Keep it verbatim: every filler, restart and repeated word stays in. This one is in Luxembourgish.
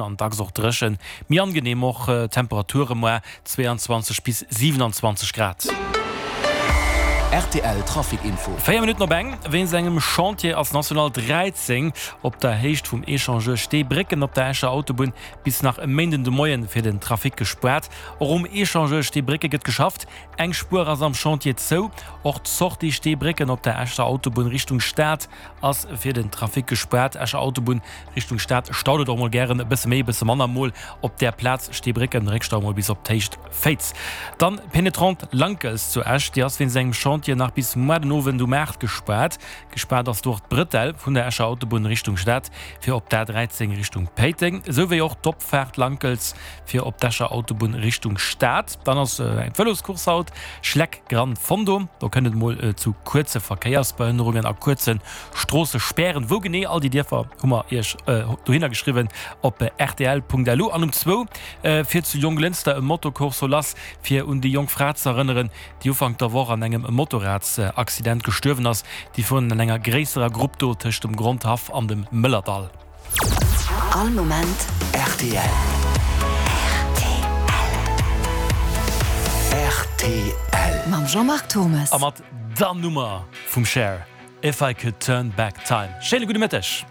An dacks och dréchen. Méi angeneem och Temperature moar, zweiundzwanzeg bis siewenundzwanzeg Grad. Rtl Trafic Info. Véier Minutten op eng. Wéinst engem Chantier ass National dräizéng op der Héicht vum Echangeur Steebrécken op der Escher Autobunn bis nach e Méinden de Moien fir den Trafic gespaart. Och um Echangeur Steebrécke gëtt geschafft. Eng Spuer ass am Chantier zou. Och d'Sortie Steebrécken op der Escher Autobunn Richtung Stad ass fir den Trafic gespaart. Escher Autobunn Richtung Stad staut et och mol gären e bësse méi, e bësse manner, mol op där Plaz Steebrécken, Réckstau mol bis op d'Héicht Féiz. Dann d'Penetrante Lankels zu Esch, déi ass wéinst engem Chantier nach bis muer den Owend um aacht gespaart. Gespaart ass do och d'Brëtell vun der Escher Autobunn Richtung Stad fir op d'A dräizéng Richtung Péiteng, esou wéi och d'Opfaart Lankels fir op d'Escher Autobunn Richtung Stad. Dann ass eng Vëloscourse haut, Schleck Gran Fondo. Do kënnt et mol zu kuerze Verkéiersbehënnerungen a kuerze Stroossespären. Wou genee all déi Dierfer hu mer iech dohinner geschriwwen op rtl Punkt L U. An um zwou fiert zu Jonglënster e Motocorso lass, fir un déi jonk Fra ze erënneren, déi Ufank der Woch an engem Motorradsaccident gestuerwen ass. Déi fueren an enger gréisserer Grupp do tëscht dem Grondhaff an dem Mëllerdall. All Moment rtl. Rtl. Mam Jean-Marc Thommes. A mat der Nummer vum Cher, If I Could Turn Back Time. Schéine gudde Mëtteg.